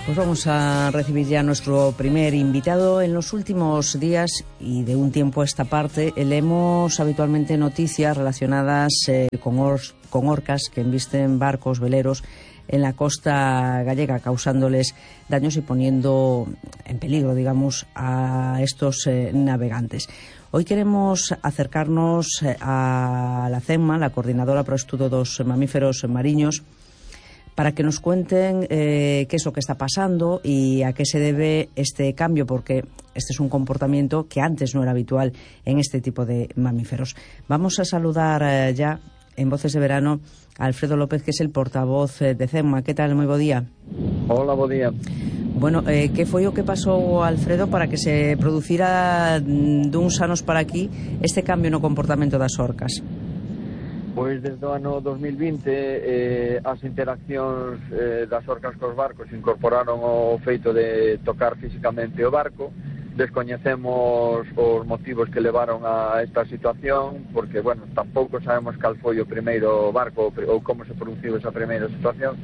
Pues vamos a recibir ya a nuestro primer invitado. En los últimos días y de un tiempo a esta parte leemos habitualmente noticias relacionadas con orcas que embisten barcos veleros en la costa gallega, causándoles daños y poniendo en peligro, digamos, a estos navegantes. Hoy queremos acercarnos a la CEMMA, la Coordinadora para o Estudo dos Mamíferos Mariños, para que nos cuenten qué es lo que está pasando y a qué se debe este cambio, porque este es un comportamiento que antes no era habitual en este tipo de mamíferos. Vamos a saludar ya en Voces de Verano a Alfredo López, que es el portavoz de CEMMA. ¿Qué tal? Moi bo día. Hola, bo día. Bueno, que foi o que pasou, Alfredo, para que se producira duns anos para aquí este cambio no comportamento das orcas? Pois desde o ano 2020 as interaccións das orcas cos barcos incorporaron o feito de tocar físicamente o barco. Descoñecemos os motivos que levaron a esta situación, porque, bueno, tampouco sabemos cal foi o primeiro barco ou como se produciu esa primeira situación.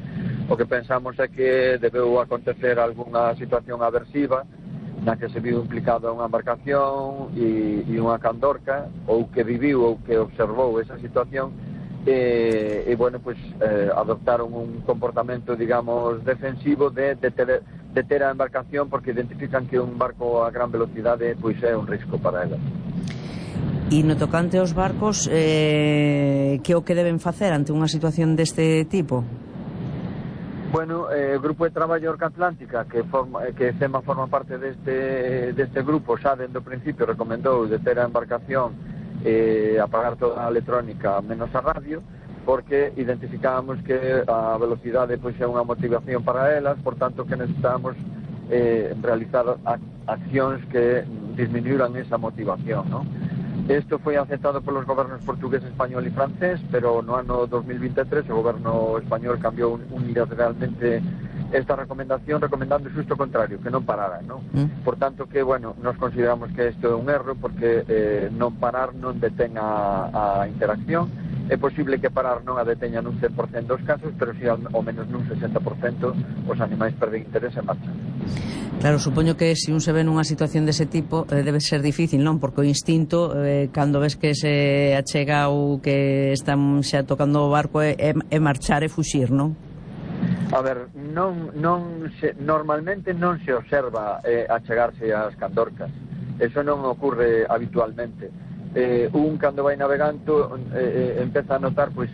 O que pensamos é que debeu acontecer algunha situación aversiva na que se viu implicada unha embarcación e unha candorca, ou que viviu ou que observou esa situación, e bueno, pues adoptaron un comportamento, digamos, defensivo de ter a embarcación, porque identifican que un barco a gran velocidade pois é un risco para ela. E no tocante aos barcos, que o que deben facer ante unha situación deste tipo? Bueno, o Grupo de Traballo Orca Atlántica, que CEMMA forma parte deste grupo, xa dende o principio recomendou de ter a embarcación apagar toda a electrónica menos a radio, porque identificábamos que a velocidade pois é unha motivación para elas, por tanto que necesitamos realizar accións que disminuíran esa motivación, ¿no? Isto foi aceptado polos gobernos portugués, español e francés, pero no ano 2023 o goberno español cambiou unilateralmente esta recomendación, recomendando xusto o contrario, que non parara, ¿no? Por tanto que, bueno, nos consideramos que isto é un erro, porque non parar non detén a interacción. É posible que parar non a deteña nun 100% dos casos, pero si ao menos nun 60% os animais perden interés e marchan. Claro, supoño que se un se ve nunha situación dese tipo debe ser difícil, non? Porque o instinto, cando ves que se achega ou que están xa tocando o barco, é marchar e fuxir, non? A ver, normalmente non se observa achegarse ás candorcas. Eso non ocurre habitualmente. Un cando vai navegando empeza a notar pois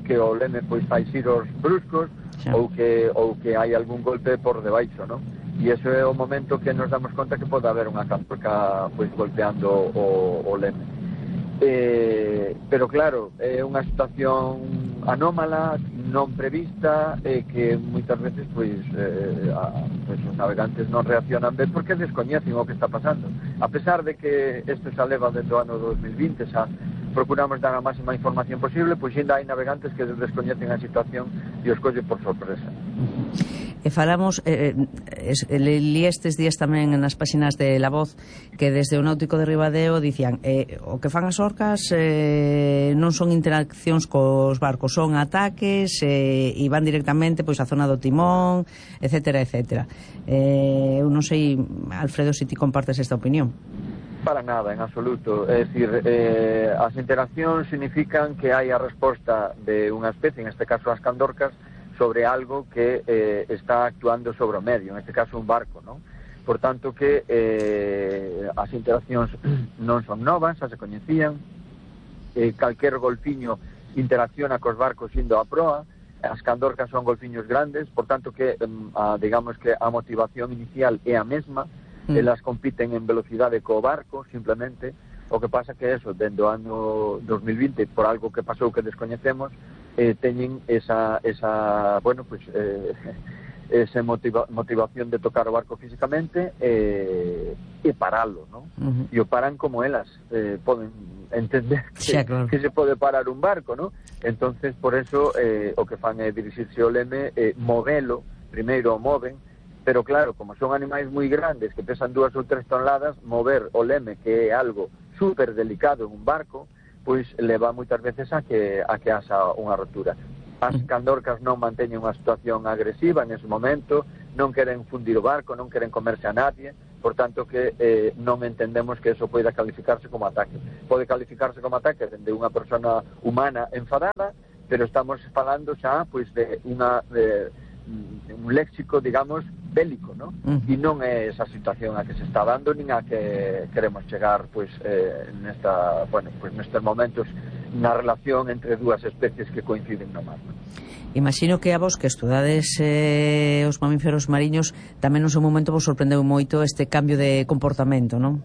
que o leme pois fai xiros bruscos, ou que hai algún golpe por debaixo, non? E ese é o momento que nos damos conta que pode haber unha candorca pois golpeando o leme. Pero claro, é unha situación anómala, non prevista, que moitas veces pois os navegantes non reaccionan ben porque descoñecen o que está pasando. A pesar de que isto xa leva desde o ano 2020, xa procuramos dar a máxima información posible, pois ainda hai navegantes que descoñecen a situación e os colle por sorpresa. E falamos, li estes días tamén nas páxinas de La Voz, que desde o Náutico de Ribadeo dicían o que fan as orcas non son interaccións cos barcos, son ataques e van directamente pois a zona do timón, etcétera, etcétera. Eu non sei, Alfredo, se ti compartes esta opinión. Para nada, en absoluto. É dicir, as interaccións significan que hai a resposta de unha especie, en este caso as candorcas, sobre algo que está actuando sobre o medio, en este caso un barco, ¿no? Por tanto que as interaccións non son novas, xa se coñecían, calquer golfiño interacciona cos barcos indo a proa, as candorcas son golfiños grandes, por tanto que digamos que a motivación inicial é a mesma, elas compiten en velocidade co barco, simplemente. O que pasa que eso, dentro do ano 2020, por algo que pasou que descoñecemos, teñen esa motivación de tocar o barco físicamente e paralo, ¿no? E o paran como elas poden entender que se pode parar un barco, ¿no? Entonces, por eso, o que fan é dirixirse ao leme, movelo, primeiro o moven, pero claro, como son animais moi grandes que pesan 2 ou 3 toneladas, mover o leme, que é algo super delicado en un barco, pois leva moitas veces a que haxa unha rotura. As candorcas non manteñen unha situación agresiva en ese momento, non queren fundir o barco, non queren comerse a nadie, por tanto que non entendemos que eso poida calificarse como ataque. Pode calificarse como ataque dende unha persona humana enfadada, pero estamos falando xa pois de un léxico, digamos, bélico, ¿no? E non é esa situación a que se está dando nin a que queremos chegar pois nestes momentos na relación entre dúas especies que coinciden no mar. Imagino que a vos que estudades os mamíferos mariños tamén no seu momento vos sorprendeu moito este cambio de comportamento, non?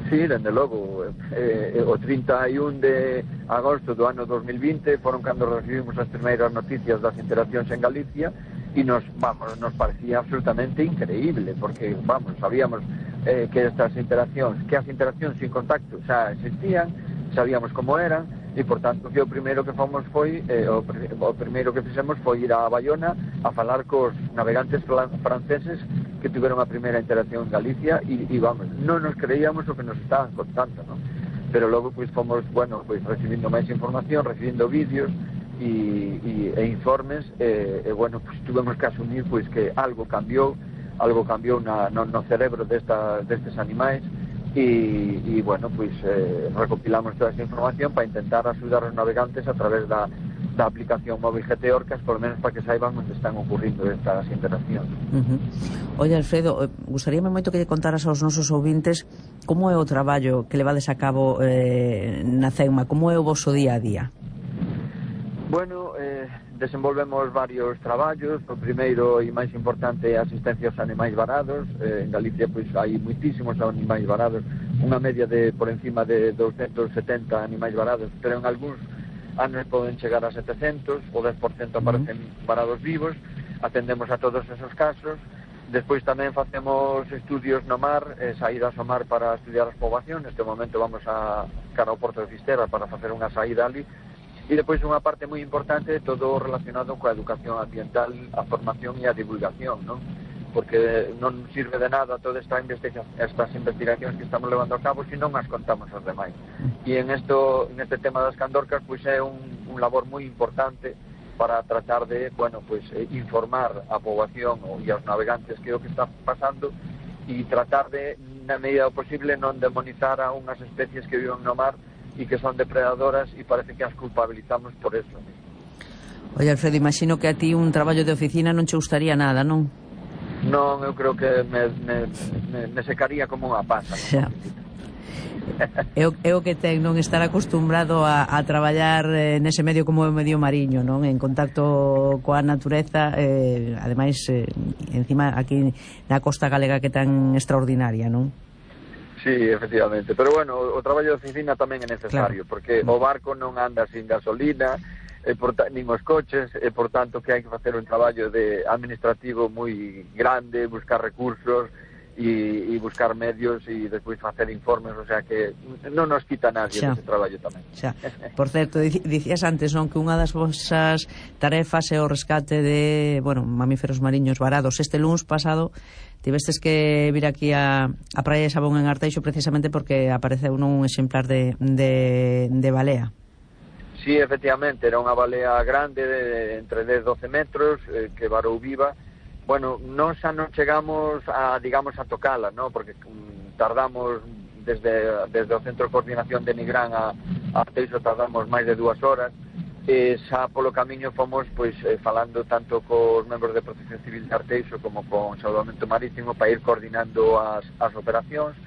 Sí, dende logo, o 31 de agosto do ano 2020 foron cando recibimos as primeiras noticias das interaccións en Galicia e nos parecía absolutamente increíble, porque, sabíamos que estas interaccións, que as interaccións sin contacto xa existían, sabíamos como eran, e, por tanto, que o primeiro que fomos foi, o primeiro que fixemos foi ir a Bayona a falar cos navegantes franceses que tiveron a primeira interacción en Galicia e non nos creíamos o que nos estaban contando, non? Pero logo, pois, fomos, recibindo máis información, recibindo vídeos e informes, pois, tuvemos que asumir, pois, que algo cambiou no cerebro destes animais e pois, recopilamos toda esa información para intentar axudar os navegantes a través da aplicación móvil GT Orcas, por lo menos para que saiban onde están ocurrindo estas interaccións. Oye, Alfredo, gustaríame moito que lle contaras aos nosos ouvintes como é o traballo que levades a cabo na CEUMA, como é o voso día a día. Bueno, desenvolvemos varios traballos. O primeiro e máis importante é a asistencia aos animais varados. En Galicia pois hai moitísimos animais varados, unha media de por encima de 270 animais varados, pero en algúns anos poden chegar a 700, o 10% aparecen varados vivos. Atendemos a todos esos casos. Despois tamén facemos estudios no mar, saídas ao mar para estudiar as poboacións. Neste momento vamos cara ao Porto de Fisterra para facer unha saída ali. E depois unha parte moi importante é todo relacionado coa educación ambiental, a formación e a divulgación, non? Porque non sirve de nada todas estas investigacións que estamos levando a cabo se non as contamos aos demais. E neste tema das candorcas pois é un labor moi importante para tratar de, informar a poboación e aos navegantes que é o que está pasando e tratar de, na medida do posible, non demonizar a unhas especies que viven no mar e que son depredadoras e parece que as culpabilizamos por eso. Oye, Alfredo, imagino que a ti un traballo de oficina non che gustaría nada, non? Non, eu creo que me secaría como unha pasa. Xa. É o que ten non estar acostumbrado a traballar nese medio como o medio mariño, non? En contacto coa natureza, ademais, encima aquí na costa galega que tan extraordinaria, non? Sí, efectivamente, pero bueno, o traballo de oficina tamén é necesario, claro, porque o barco non anda sin gasolina, nin os coches, e por tanto que hai que facer un traballo administrativo moi grande, buscar recursos e buscar medios e despois facer informes, o sea que non nos quita nadie ese traballo tamén. Xa. Por certo, dicías antes, non, que unha das vosas tarefas é o rescate de, mamíferos mariños varados. Este luns pasado tivestes que vir aquí a Praia de Sabón en Arteixo precisamente porque apareceu un exemplar de balea. Sí, efectivamente, era unha balea grande de entre 10 e 12 metros que varou viva. Bueno, non xa non chegamos a tocala, ¿no? Porque tardamos desde o Centro de Coordinación de Nigrán a Arteixo tardamos máis de 2 horas. Xa polo camiño fomos falando tanto cos membros de Protección Civil de Arteixo como con Salvamento Marítimo para ir coordinando as operacións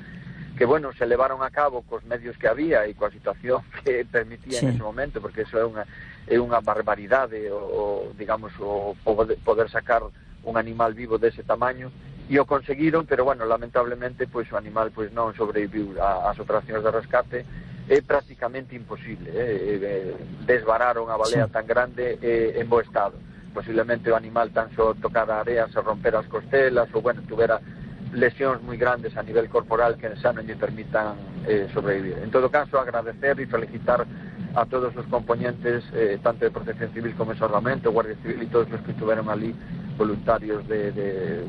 que, se levaron a cabo cos medios que había e coa situación que permitía en ese momento, porque eso é unha barbaridade o poder sacar un animal vivo dese tamaño, e o conseguiron, pero lamentablemente o animal non sobreviviu ás operacións de rescate. É prácticamente imposible desvarar unha balea tan grande en bo estado. Posiblemente o animal tan só tocara a area, se rompera as costelas ou, tuvera lesións moi grandes a nivel corporal que xa non lle permitan sobrevivir. En todo caso, agradecer e felicitar a todos os componentes, tanto de Protección Civil como de Salvamento, Guardia Civil e todos os que estuveron ali, voluntarios de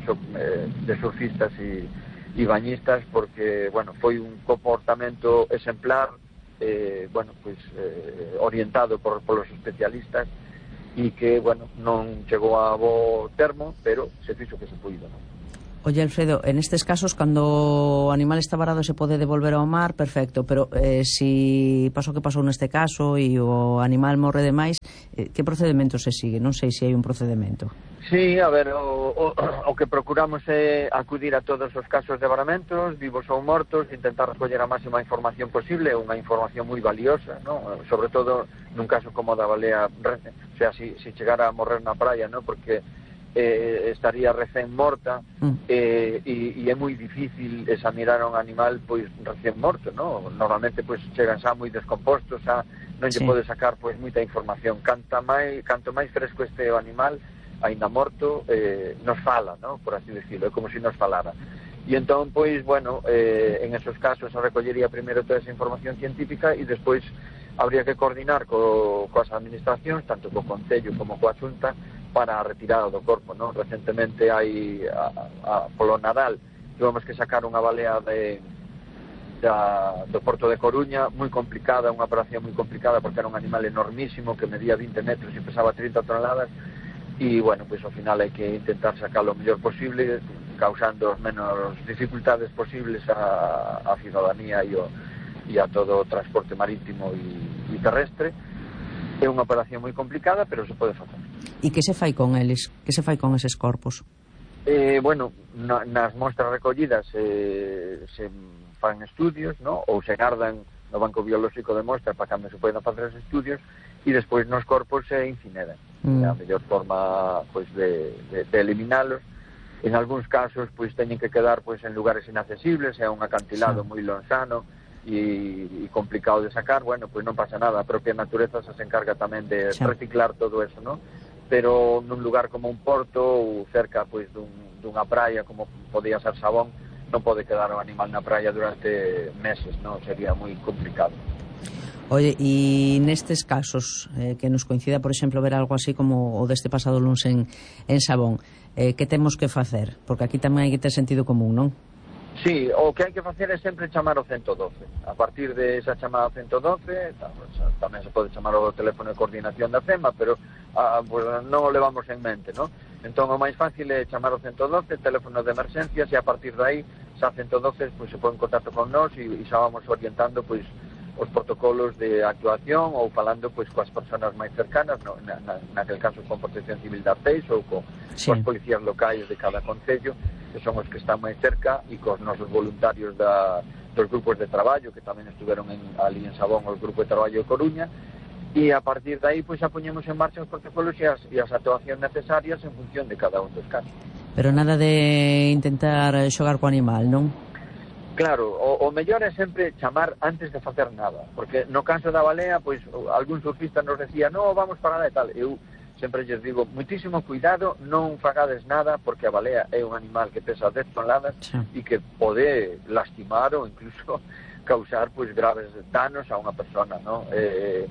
surfistas e bañistas, porque, foi un comportamento exemplar, orientado polos especialistas e que, bueno, non chegou a bo termo, pero se fixo que se puido, non? Oye, Alfredo, en estes casos, cando o animal está varado se pode devolver ao mar, perfecto, pero si pasou que pasou neste caso e o animal morre demais, que procedimento se sigue? Non sei se hai un procedimento. Sí, a ver, o que procuramos é acudir a todos os casos de varamentos, vivos ou mortos, intentar recoller a máxima información posible, unha información moi valiosa, ¿no? Sobre todo nun caso como o da balea, o sea, si chegara a morrer na praia, ¿no? Porque estaría recén morta e é moi difícil examinar un animal pois recén morto, ¿no? Normalmente pois chegan xa moi descompostos, xa non lle pode sacar pois moita información. Canto máis fresco este animal aínda morto, nos fala, ¿no? Por así decirlo, é como se nos falara. E entón, pois, bueno, en esos casos se recollería primeiro toda esa información científica e despois habría que coordinar coas administracións, tanto co Concello como coa Xunta, para a retirada do corpo, ¿no? Recentemente hai polo Nadal tivemos que sacar unha balea do Porto de Coruña, moi complicada, unha operación moi complicada porque era un animal enormísimo que medía 20 metros e pesaba 30 toneladas e, bueno, pois ao final hai que intentar sacarlo o mellor posible, causando as menos dificultades posibles a ciudadanía e a todo o transporte marítimo e terrestre. É unha operación moi complicada, pero se pode facer. E que se fai con eles? Que se fai con eses corpos? Bueno, nas mostras recollidas se fan estudios, ¿no? Ou se gardan no Banco Biolóxico de Mostras para cando se poden facer os estudios e despois nos corpos se incineran. É a mellor forma pois de eliminalos. En algúns casos pois teñen que quedar pois en lugares inaccesibles, é un acantilado moi lonxano e complicado de sacar. Bueno, pois non pasa nada, a propia natureza se encarga tamén de reciclar todo eso, ¿no? Pero nun lugar como un porto ou cerca pois dunha praia como podía ser Sabón, non pode quedar o animal na praia durante meses, non? Sería moi complicado. Oye, e nestes casos que nos coincida, por exemplo, ver algo así como o deste pasado luns en Sabón, que temos que facer? Porque aquí tamén hai que ter sentido común, non? Sí, o que hai que facer é sempre chamar o 112. A partir de esa chamada ao 112, tamén se pode chamar o teléfono de coordinación da FEMA, pero pues, non o levamos en mente, ¿no? Entón, o máis fácil é chamar o 112, teléfono de emergencias, e a partir de aí, xa 112, pues, se pon en contacto con nós e xa vamos orientando, pues, os protocolos de actuación ou falando pois coas persoas máis cercanas, no, naquele caso con Protección Civil de Arteis ou coas policías locais de cada concello, que son os que están máis cerca, e cos nosos voluntarios dos grupos de traballo que tamén estuveron ali en Sabón, os grupos de traballo de Coruña, e a partir de aí pois xa poñemos en marcha os protocolos e as actuacións necesarias en función de cada un dos casos. Pero nada de intentar xogar co animal, non? Claro, o mellor é sempre chamar antes de facer nada, porque no caso da balea, pois algún surfista nos decía, no, vamos para lá e tal. Eu sempre lles digo, muitísimo cuidado, non fagades nada, porque a balea é un animal que pesa 10 toneladas e que pode lastimar ou incluso causar pois graves danos a unha persona, ¿no? E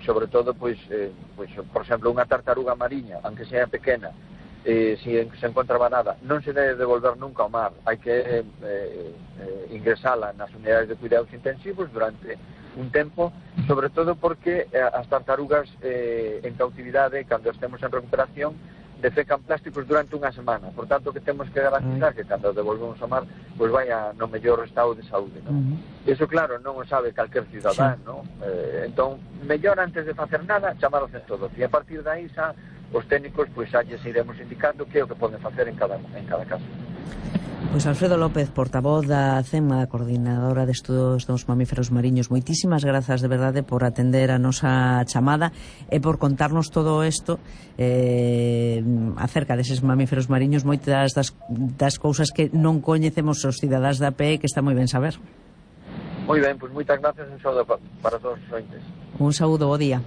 sobre todo, pois, por exemplo, unha tartaruga mariña, aunque sea pequena, se encontra varada, non se debe devolver nunca ao mar, hai que ingresala nas unidades de cuidados intensivos durante un tempo, sobre todo porque as tartarugas en cautividade, cando estemos en recuperación, defecan plásticos durante unha semana. Por tanto, que temos que garantizar que cando devolvemos ao mar, pois vaya no mellor estado de saúde, non? Eso, claro, non o sabe calquer cidadán, non? Entón, mellor antes de facer nada, chamar o 112. E a partir de aí, xa, os técnicos, pois xa lles iremos indicando que é o que poden facer en cada caso. Pois Alfredo López, portavoz da CEMA, coordinadora de estudos dos mamíferos mariños, moitísimas grazas de verdade por atender a nosa chamada e por contarnos todo isto acerca deses mamíferos mariños, moitas das cousas que non coñecemos os cidadáns da PE, que está moi ben saber. Moi ben, pois moitas grazas, un saúdo para todos os ointes. Un saúdo, bo día.